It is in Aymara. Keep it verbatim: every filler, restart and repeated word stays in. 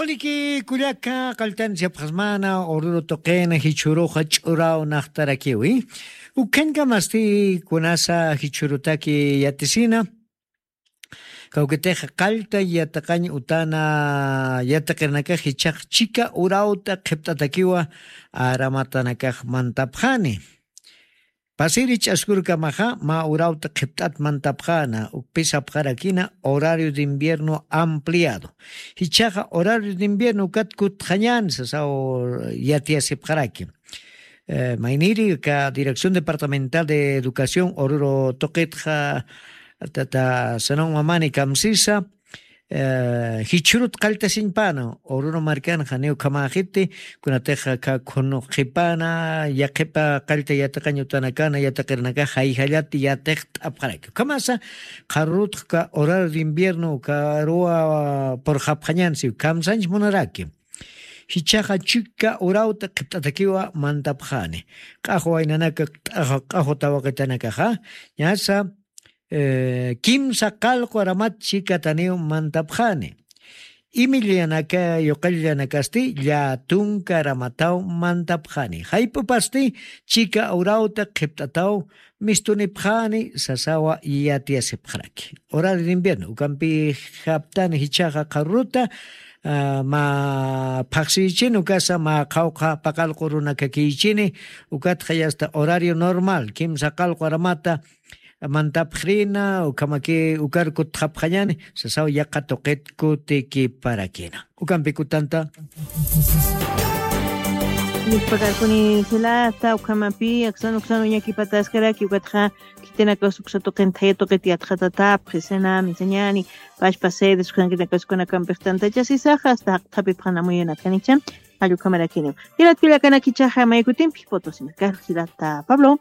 Waliki kullaka qalltan siapxasmana ururu tuqina jichhuruxa ch'uraw naxtarakiwi. Ukhañkamasti kunasa jichhurutaki yatisina kawkitix qallta yatiqañ utana yatiqirnakax jichhax chika urawta qhipt'atakiwa aramatanakax mantapxani. Pasiri ch'askurkamaxa mä urawta qhipt'at mantapxäna ukpi sapxarakina horario de invierno ampliado. Jichhaxa horario de invierno ukat kutxañän sasaw yatiyasipxaraki. Mayniri aka dirección departamental de educación ururu tuqitxa tata sanon mamani kamsisa jichhurut qalltasiñpäna ururu markanxa niw khamäxiti kunatix aka khunu qhipana yaqhipa qallta yatiqañ utanakana yatiqirnakax jayjallat yatiqt'apxaraki ukhamasa qharurutxa uka horario de invierno ukaruwa purxapxañän siw kamsañch munaraki. Jichhaxa chika urawta qhipt'atakiwa mantapxani q'axwa waynanaka q'axwa tawaqitanakaxa ñasa kimsa qallqu aramat chikataniw mantapxani. Imillanaka yuqallanakasti llatunka aramataw mantapxani jayp'upasti chika urawta qhipt'ataw mistunipxani sasawa yatiyasipxaraki. Horario de invierno ukampi japtani jichhaxa qharuruta mä phaqsiyichini ukasa mä qhawqha paqallqu runakakiychini. Ukatxa yasta horario normal kimsa qallqu aramata mantapxrina ukhamaki ukar kutxapxañani sasaw yaqa tuqit kutikiparakina. Ukampi kutanta. Nispakarkuni jilata ukhamapi aksan uksan uñakipataskaraki ukatxa khitinakaws uksa tuqin thaya tuqit yatxatatapxi sena misañani pachpa sedes uksankinakaws kunakampix tantachasisaxa hasta jaqthapipxanamuyanakanicha. Jallukamarakiniw jilat kullakanakkichaxa maykutimpi potosinakar jilata pablo.